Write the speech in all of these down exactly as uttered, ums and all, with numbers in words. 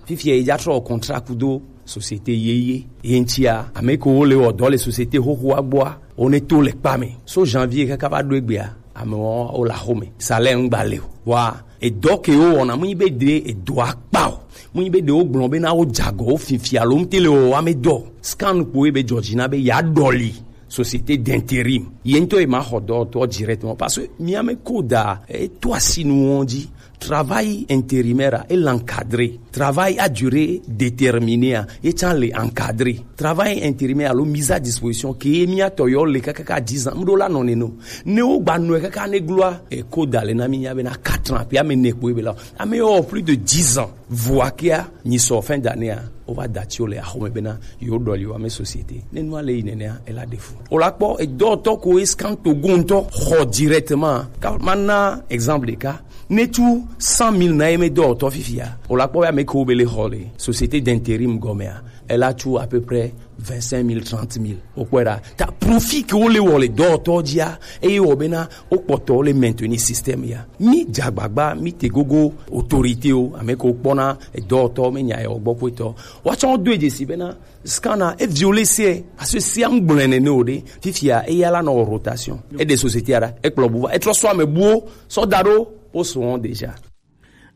Fifia ye ja trɔ contrat kudo société yeye. Ye ŋutia, ame kewo le wɔ dɔ le société xoxoa gbɔa, wo ne to le kpa me. So janvier kaka va ɖo egbea, amewo wo le axome. Salaire ŋgba le o. Wa edɔ ke wo wɔna, mu nyi be de edɔa kpa o. Mu nyi be de wo gblɔ be na wo jagɔ wo fifia lo ŋute le wɔ wa me dɔ. Scan kpo ye be jɔji na be ya dɔli société d'intérim. Ye ŋutɔ ye ma xɔ dɔ tɔ directement parce que mi ame ko da e to asi nu wɔn ji. Travail intérimaire est encadré. Travail à durée déterminée, hein, et tient les encadré. Travail intérimaire, alors mise à disposition, qui est mis à toyo, les kaka dix ans, mdo la non, non. Ne o ba no kaka ne gloire, et ko dale na mi nya bena quatre ans, puis ame ne ko bela. Ame o plus de dix ans. Voix qui a, ni so fin d'année, hein, on va dater le, ah, mais bena, yo doli wa me société. Ne nous aller, ne, ne, elle a des fous. O la kpɔ, et d'autres ko escan to gonto, ho directement. Ka, mana, exemple de cas, ne tu cent mille na eme dɔ tɔ fifia. O la kpɔ ya me ko bele hole. Société d'intérim gomea. Elle a tu à peu près vingt-cinq mille, trente mille. O kwera. Ta profit ke o le wole dɔ tɔ dia. E o bena o kpɔtɔ le maintenir système ya. Mi jagbagba, mi te gogo autorité o. Ame ko kpɔna, e dɔ tɔ, me nya e o gbɔ ko tɔ. Wa tɔ do e si bena. Scanner e violé se. A se si an gblene ne o de. Fifia, e ya la no rotation. E de société ara. E kplo buva. E trɔ so ame buo. So daro. O so on déjà.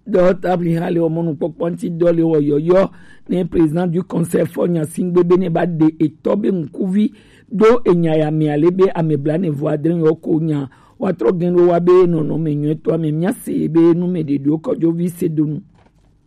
Dɔwɔtɔ Abraham le wɔmɔnukpɔkpɔ ŋuti dɔ le wɔyɔyɔ ne président du conseil fɔ nya singbe be ne ba de etɔ be ŋkuvi do enya ya mea le be ame bla ne vɔ adre yɔ ko nya wa trɔ gen wo wa be nɔnɔ me nyɔ etɔ ame mia se be nu me de do kɔjo vi se donu.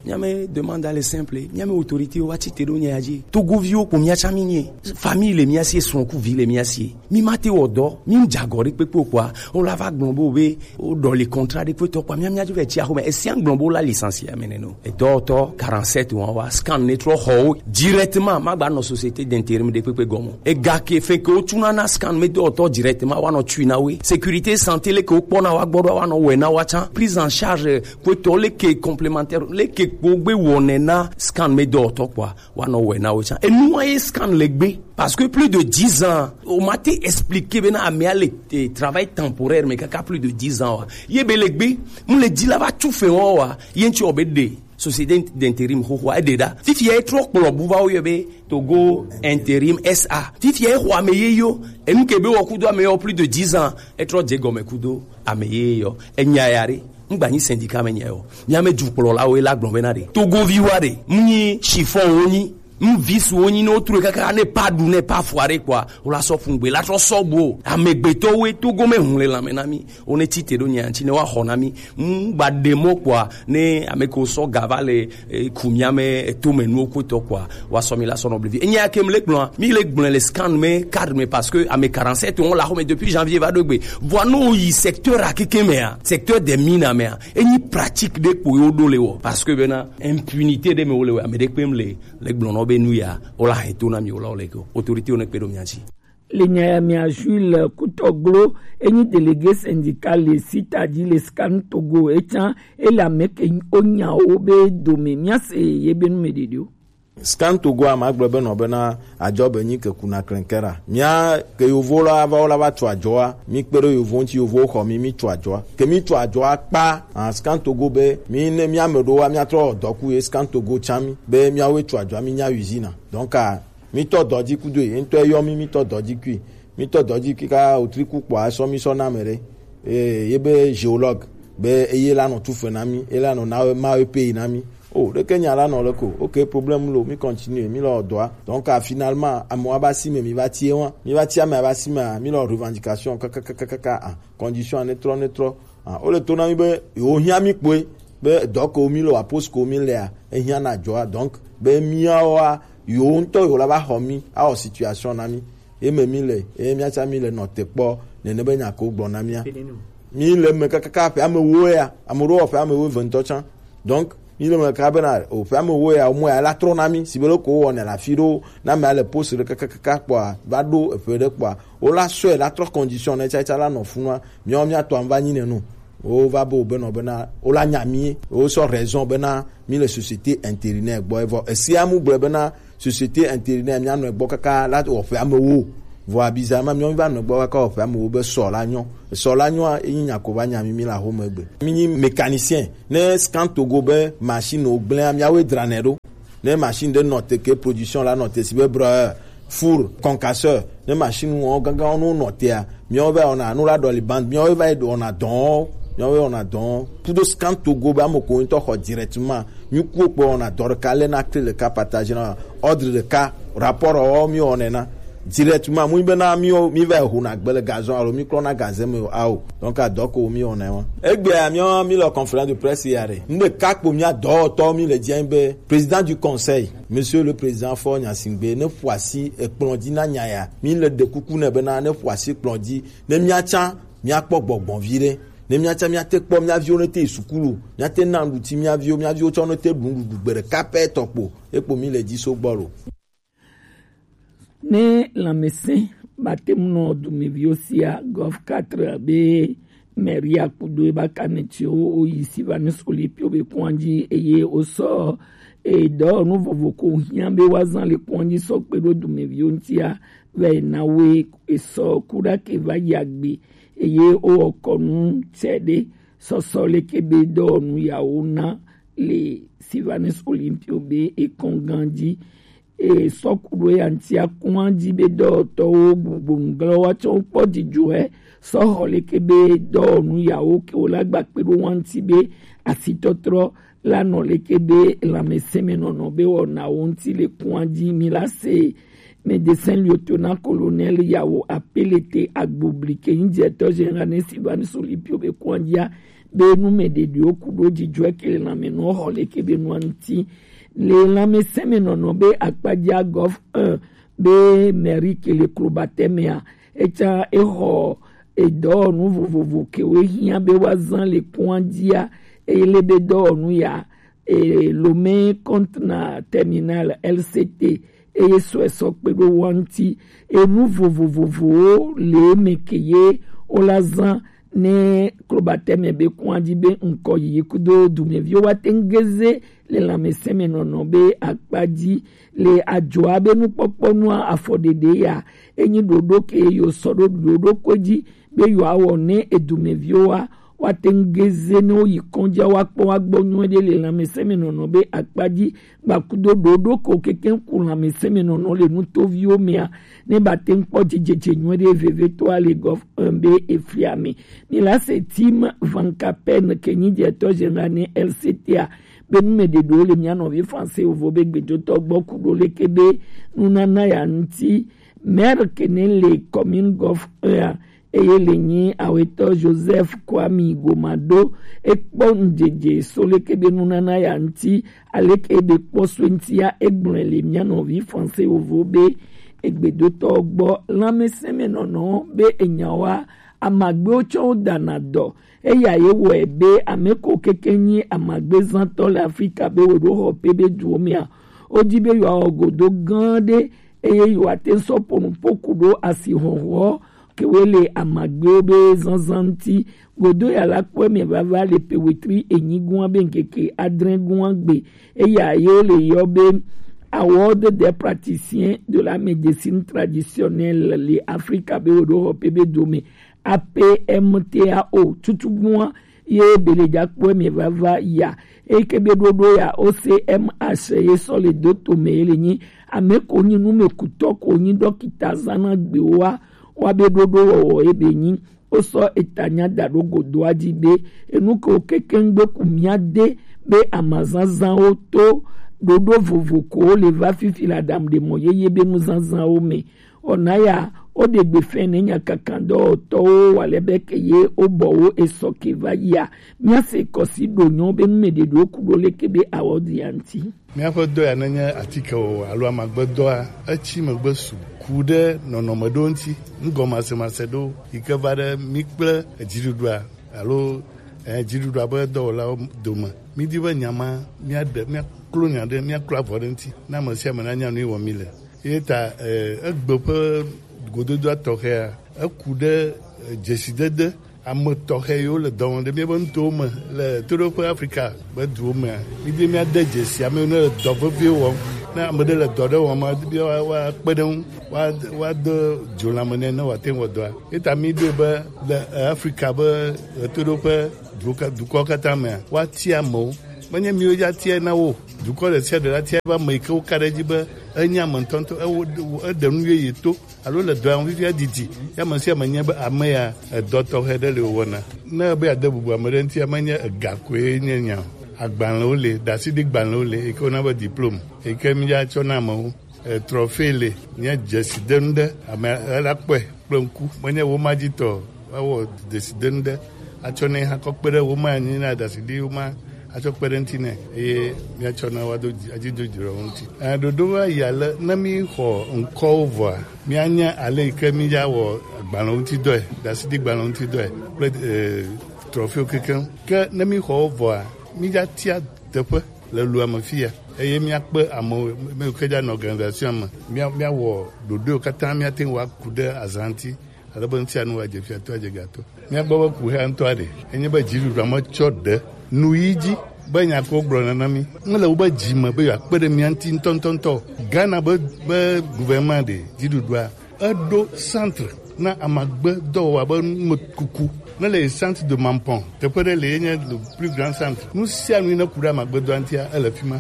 Mia me demande à les simples, mia me autorité wa ti te do nya ya ji. Togo vi wo ko mia cha mi nye. Famille le mia se, son ku vi le mia se. Mi ma te wɔ dɔ, mi ŋdza gɔ ɖe kpekpe o kpɔa, o la va gblɔ bo be, o ɖɔ le contrat ɖe kpetɔ kpɔa, mia mia dzo vɛ tsi axome, esia ŋgblɔ bo la licencié ame nɛ no. Edɔwɔtɔ quarante-sept wa wa scan ne trɔ xɔ wo directement, ma gba nɔ société d'intérim ɖe kpekpe gɔme. Ega ke fe ke o tsuna na scan me dɔwɔtɔ directement wa nɔ tsui na we. Sécurité santé le ke o kpɔna wa gbɔ ɖo wa nɔ wɛ na wa tsã. Prise en charge kpetɔ le ke complémentaire, le ke kpo gbe wɔnɛ na scan me dɔwɔtɔ kpɔa. Wa nɔ wɛ na wo tsã. Enua ye scan le gbe. Parce que plus de dix ans, o ma te expliquer be na amea le, eh, travail temporaire, mais kaka plus de dix ans wa. Ye be le gbe, mu le dzi la va tu fe wa wa. Ye ŋtsi o be de. Société d'intérim xoxoa, e de da. Fifia e trɔ kplɔ bu va wo yɔ be Togo Intérim S A. Fifia e xɔ ame ye yo. Enu ke be wɔ kudo ame yɔ plus de dix ans. E trɔ dze gɔme kudo ame ye yɔ. E nya ya re. Ŋgba nyi syndicat me nya yɔ. Mia me dukplɔlawo la gblɔ be na ɖe. Togovi wa ɖe. Mu nyi chiffon wo nyi. Mu visu wo nyi ne wo true kaka ne pa ɖu ne pa fua ɖe kpɔa. Wo la sɔ fun gbe la trɔ sɔ gbo. Amegbetɔwo e Togo me hun le lanme na mi. Wo ne tsi te ɖo nya ŋtsi ne wa xɔ na mi. Ŋgba ɖe mɔ kpɔa ne ame ko sɔ ga va le, eh, ku mia me, eh, to me nuwo kpetɔ kpɔa. Wa sɔ mi la sɔ nɔ blevi. Enya ke mi le gblɔa. Mi le gblɔ le scan me, cadre me parce que ame quarante-sept wo la xɔ me depuis janvier va ɖo gbe. Vɔ no yi secteur a keke mea, secteur des mines mea. Enyi pratique ɖe kpo yo ɖo le wɔ. Parce que bena impunité ɖe me wo le wɔ, ame ɖe kpe mi le, le gblɔ nɔ be nu ya, o la he to na mi o la o le ko. Autorité wo ne kpe ɖo mia ŋtsi. Le nya ya mea Jules Kutɔglo, enyi délégué syndical le sita dzi le scan Togo, etsã ele ame ke o nya wo be dome mia se ye be nu me ɖeɖe o. Scan Togo a ma gblɔ be nɔ bena adzɔ be nyi ke kuna klenkera. Mia ke yovo la va wo la va tso adzɔa, mi kpe ɖe yovo ŋtsi, yovo xɔ mi, mi tso adzɔa. Ke mi tso adzɔa kpa, ah, Scan Togo be mi ne mia me ɖo wa mia trɔ dɔku ye Scan Togo tsã mi be mia wo tso adzɔa mi nya usine. Donc, ah, mi tɔ dɔ dzi kudo ye ŋtɔ yɔ mi, mi tɔ dɔ dzi kui, mi tɔ dɔ dzi kui ka otriku kpɔa sɔ mi sɔ na me ɖe. Eh, ye be géologue be eye la nɔ tufe na mi, e la nɔ na ma we pay na mi. O ɖeke nya la nɔ le ko. Ok, problème lo, mi continue, mi lɔ dɔa. Donc, ah, finalement, amewo aba si me, mi va tie wa. Mi va tie ame aba si me, ah, mi lɔ revendication, kakakakaka, ah, condition ne trɔ, ne trɔ. Ah, o le to na mi be, yo hiã mi kpoe, be dɔ ko mi le wa, poste ko mi le a, e hiã na dzɔa. Donc, be miawoa, yo ŋtɔ yo la va xɔ mi, awɔ situation na mi. Ye me mi le, ye mia tsã mi le nɔ te kpɔ, nene be nya ko gblɔ na mia. Mi le me kakaka ƒe ame wo ya, ame ɖewo ƒe ame wo ve ŋtɔ tsã. Donc, mi le me kaka bena, o ƒe ame wo ya, o mɔ ya la trɔ na mi, si be le ko wɔnɛ le afi ɖewo, na mea le poste ɖe kakakaka kpɔa, va ɖo eƒe ɖe kpɔa, o la sɔe la trɔ condition ne tsatsa la nɔ funua, miawo mia tɔ va nyi ne nu. O va be o benɔ bena, o la nya mi, o sɔ raison bena, mi le société intérimaire gbɔ, evɔ esia mu gblɔe bena, société intérimaire mia nɔ egbɔ kaka la wɔ ƒe ame wo. Vɔ abiza ma miawo va nɔ egbɔ kaka wɔ ƒe ame wo be sɔ la nyɔ. Sɔ la nyɔa, enyi nya ko va nya mi, mi la xɔ me gbe. Mi nyi mécanicien, ne Scan Togo be machine wo gblẽa, miawoe dranɛ ɖo. Ne machine ɖe nɔ te ke production la nɔ te si be brɔ four concasseur, ne machine wɔn gangan wɔn nɔ tea, miawo va wɔna nu la ɖɔli band, miawo va yi wɔna dɔn, miawo va wɔna dɔn. Kudo scan togo be ame ko ŋutɔ xɔ directement, mi kuwo kpɔ wɔna dɔ ɖeka lɛ na clé ɖeka partager na ordre ɖeka rapport wɔ mi wɔnɛ na directement. Mu be na mi mi va yi ho na gbe le gazon alo mi klɔ na gazem o ao. Donc adɔ ko mi wɔnɛ wa. Egbea mi mi le conférence de presse ya ɖe. Ŋɖe ka kpo mia dɔwɔtɔ mi le dzi be président du conseil, monsieur le président Faure Gnassingbé, ne ƒo asi ekplɔ̃ dzi na nya ya. Mi le ɖe kuku nɛ bena ne ƒo asi kplɔ̃ dzi, ne miatsã miakpɔ gbɔgbɔ vi ɖe, ne miatsã miate kpɔ mia viwo ne te yi sukulu, miate na nuɖuti mia viwo, mia viwo tsɔ ne te ɖu nuɖuɖu gbe ɖeka pɛ tɔ kpo, ekpo mi le dzi so gbɔ lo. Ne lãmesẽ ba te ŋu nɔ dumeviwo sia, Golf quatre be Maria kudo eba kanetiwo woyi Sylvanus Olympio be kɔn dzi eye wosɔ edɔwɔnu vovo ko hiã be woazã le kɔn dzi sɔ kpe ɖo dumeviwo ŋutia, vɛ na woe esɔ kuɖa ke va yi agbe eye wowɔ kɔnu tsɛ ɖe sɔsɔ leke be dɔwɔnu yawo na le Sylvanus Olympio be ekɔn gã dzi. E sɔ ku ɖo ya ŋutia kɔn dzi be dɔwɔtɔwo gbugbɔnuglɔwo atsɔ kpɔ dzidzɔe sɔ xɔ leke be dɔwɔnu yawo ke wo la gba kpe ɖo wa ŋuti be asitɔtrɔ la nɔ leke be lãmesẽmenɔnɔ be wɔnawo ŋuti le kɔn dzi. Mi la se médecin lieutenant colonel yawo apelete agbobli ke ŋdzɛtɔ général ne Sylvanus Olympio be kɔn dzia be nu mɛ ɖeɖewo ku ɖo dzidzɔe ke le lãme nɔ xɔ leke be nua ŋuti. Le lãmesẽmenɔnɔ be akpadzia Golf un be Merrick le klobatɛ mea, etsã exɔ edɔwɔnu vovovo kewo hiã be woazã le kɔn dzia, eye le be dɔwɔnu ya e, Lomé Conteneur Terminal L C T eye sɔe sɔ kpe ɖo wa ŋuti. Enu vovovovowo le eme ke ye wola zã ne klobatɛmɛ be kɔn dzi be ŋkɔ yiyi kudo dumeviwo wa te ŋu geze le lãmesẽmenɔnɔ be akpa dzi le adzɔa be nukpɔkpɔ nua afɔɖeɖe ya. Enyi ɖoɖo ke yo sɔ ɖo ɖoɖo ko dzi be yewoawɔ ne edumeviwo wa woate ŋu geze ne woyi kɔndzia woakpɔ woagbɔ nyuie ɖe le lãmesẽmenɔnɔ be akpa dzi gbakudo ɖoɖo ko kekeŋ ku lãmesẽmenɔnɔ le nutoviwo mea ne bate ŋu kpɔ dzidzedze nyuie ɖe vevetɔa le gɔf un be efia mi. Mi la se Tim Van Capen ke nyi dzɛtɔ général ne L C T a be nu me ɖeɖewo le mia nɔvi français ovo be gbedotɔ gbɔ ku ɖo leke be nunana ya ŋuti. Maire ke ne le commune gɔf un a eye le nyi awetɔ Joseph Kwame Gomado ekpɔ ŋdzedze so leke be nunana ya ŋuti, aleke be kpɔ so ŋutia egblɔe le mia nɔvi français wovo be egbedotɔ gbɔ. Lãmesẽmenɔnɔ be enyawoa amagbewo tsɔ wo dana dɔ. Eya ye wɔe be ame ko keke nyi amagbezãtɔ le Afrika be wo ɖo xɔ pe be duwo mea, wodi be yewoawɔ godo gã ɖe eye yewoate ŋu sɔ ƒo nu ƒo ku ɖo asixɔxɔ kewoe le amagbewo be zazã ŋuti. Godo ya la kpɔe mɛ vava le pe wetri enyi gɔ̃a be ŋkeke adre gɔ̃a gbe. Eya ye wole yɔ be Award des praticiens de la médecine traditionnelle le Afrika be wo ɖo xɔ pe be dome, A P M T A O, tutugbua ye be le dza kpɔe mɛ vava ya. Eke be ɖoɖo ya O C M H ye sɔ le do to mɛ ye le nyi ame ko nyi numekutɔ ko nyi dɔkita zana gbewoa wa be ɖoɖo wɔwɔ ye be nyi. Wosɔ etanya da ɖo godoa dzi be enu ke wo kekeŋ gbe ku mía de be amazazãwo to ɖoɖo vovo ko wo le va fifi le aɖaŋuɖemɔ yeye be nuzazãwo me. Wɔna ya, woɖe gbe fɛn ne nyakakan dɔwɔtɔwo wa le be ke ye wobɔ wo esɔ ke va yia. Míase kɔsi ɖo nyɔ be nu me ɖeɖewo ku ɖo leke be awɔ ɖi ya ŋuti. Míaƒe dɔ ya nenye atikewɔwɔ alo amagbedɔa, etsi megbe su ku ɖe nɔnɔme ɖewo ŋuti, nugɔmasemase ɖewo yi ke va ɖe mí kple edziɖuɖua alo eh, dziɖuɖua ƒe dɔwɔlawo dome. Mídi be nya ma míaɖe, míaklo nya ɖe, míaklo avɔ ɖe ŋuti, ne ame sia ame nanya nu yi wɔm míle. Ye ta eh, egbe ƒe gododoa tɔxɛa, eku ɖe eh, dzesidede ame tɔxɛ yiwo le dɔ wɔm ɖe míaƒe nutowo me le toɖoƒe Afrika ƒe duwo mea, mídi míade dzesi ame yiwo le dɔ vevie wɔm. Ne ame ɖe le dɔ ɖe wɔm, mídi be woa- woakpe ɖe ŋu, woa- woade dzo lãme nɛ ne wòate ŋu wɔ dɔa. Ye ta míɖoe be le eh, Afrika ƒe ɣetoɖoƒe duwo ka- dukɔwo katã mea, woatia amewo Menye miwo ya tia na wo. Dukɔ ɖe sia ɖe la tia be ame yi ke woka ɖe edzi be enye ame ŋutɔŋutɔ, ewo, eɖe nu yeye to, alo le dɔa ŋu fifia didi, ya ame sia ame nya be ame ya edɔ tɔxɛ ɖe le wòwɔna. Ne ebe yeade bubu ame ɖe ŋutia, menye ega koe nye nya o. Agbalẽwo le, ɖaseɖigbalẽwo le, yi ke wona be diplôme, yi ke míatsɔ na amewo, eh, trophée le, nye dzesidenu ɖe, ame ela kpɔe kple ŋku. Menye woma dzi tɔ o, woawɔ dzesidenu ɖe atsɔ nɛ hã kɔ kpe ɖe woma anyi na ɖaseɖi woma atsɔ kpe ɖe ŋuti nɛ, eye míatsɔ na woado dzi, adzi do dziɖɔ ŋuti. Eh, ɖoɖo va yi ale ne míxɔ ŋkɔwo vɔa, míanya ale yi ke míawɔ agbalẽ ŋuti dɔe, ɖaseɖigbalẽ ŋuti dɔe kple, eh, trophée kekeŋ. Ke ne míxɔ wo vɔa, míatia teƒe le lua me fiya, eye míakpe amewo, ame yiwo ke dza nɔ organisation me. Mía-, míawɔ ɖoɖoewo katã, míate ŋu aku ɖe azã ŋuti, ale be ŋutia nu adze fiatɔ, adze gatɔ. Míagbɔ be kuxia ŋutɔ aɖe, enye be dziɖuɖua metsɔ ɖe nu yi dzi be nya ko gblɔ nana mí. Mele wobe dzi me be yewoakpe ɖe mía ŋuti ŋutɔŋutɔŋutɔ o. Ghana be, be gouvernement ɖe dziɖuɖua, eɖo centre na amagbe dɔwɔwɔ be numekuku. Ne le centre de Mampong, teƒe ɖe le ye nye le plus grand centre. Nu sia nu yi ne ku ɖe amagbe dɔa ŋutia, ele fi ma.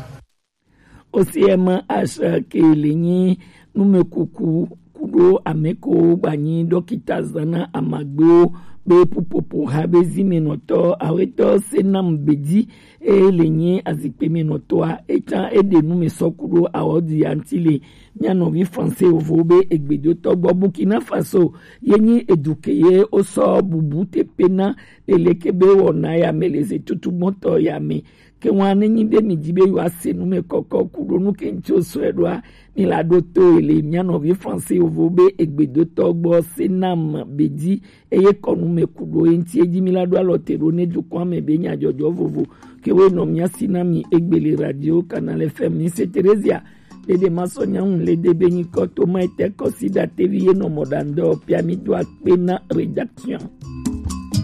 Osiema Ashake le nyi numekuku kuɖo ameko gbanyi ɖɔkita zana amagbewo be pupopo ha be zimenɔtɔ awetɔ Senam Bedi eye le nyi azikpe menɔtɔa, etsã eɖe nu me sɔ kuɖo awɔdu ya ŋuti le mía nɔvi Français vovo be egbedotɔ gbɔ. Burkina Faso ye nyi eduke ye wosɔ bubu tepe na leleke be wɔna ya me le ze tutu gbɔtɔ ya me. Ke ŋua ne nyi be mi di be yewoase nu me kɔkɔ kuɖo nu ke ŋuti wosɔe ɖoa, mi la ɖo to ele mía nɔvi Français vovo be egbedotɔ gbɔ Senam Bedi eye kɔnu me kuɖo ye ŋuti edi mi la ɖo alɔ te ɖo ne dukɔa me be nyadzɔdzɔ vovo ke wo nɔ mía si na mi egbe le radio Canal F M. Mi se Theresia ɖeɖe ma sɔ nyaŋu le de be nyikɔ to ma ete kɔsi ɖa tevi ye nɔ mɔ ɖa ŋdɔ pia mi do akpe na rédaction.